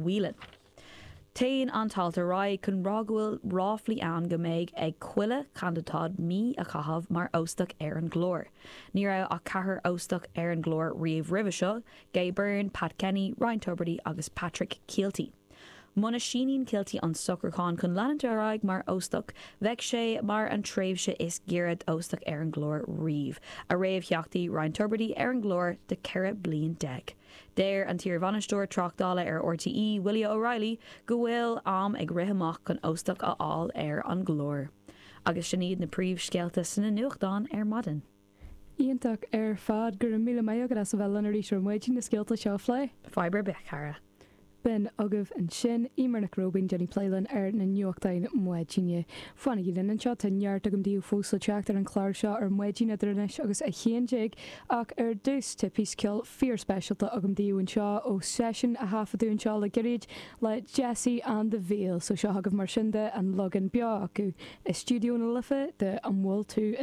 Whelan. Téann an t-alt ar aghaidh chun rá go bhfuil ráflaí ann go mbeidh ag chuile chandidáid mí a chaitheamh mar óstach ar an gclár. Ní raibh ach ceathrar óstach ar an gclár riamh roimhe seo, Gay Byrne, Pat Kenny, Ryan Tubridy agus Patrick Kielty. Muna síníonn Kielty an socrúchán chun leanúint ar aghaidh mar óstach, bheadh sé mar an tréimhse is giorra d'óstach ar an gclár riamh, a réamhtheachtaí Ryan Tubridy ar an gclár do 14 bliain. Deir an t-iarbhainisteoir tráchtála ar RTÉ, Willie O'Reilly, go bhfuil am ag rith amach chun óstach a fháil ar an gclár. Agus sin iad na príomhscéalta sna nuachtáin ar maidin. Iontach ar fad. Go raibh míle maith agat as a bheith linn arís ar maidin na scéalta seo a phlé. Fadhb ar bith, a chara. B'in agaibh ansin Eimear Nic Róibín ag déanamh plé linn ar na nuachtáin maidine. Fanaigí linn anseo, tá neart agam daoibh fós le teacht ar an chlár seo ar maidin idir anois agus 11 ach ar dtús tá píosa ceoil fíor-speisialta agam daoibh anseo ó seisiún a thaifeadadh anseo le gairid le Jesse and the Veil. So seo agaibh mar sin de an leagan beo acu i Stiúideo na Life de An bhfuil tú?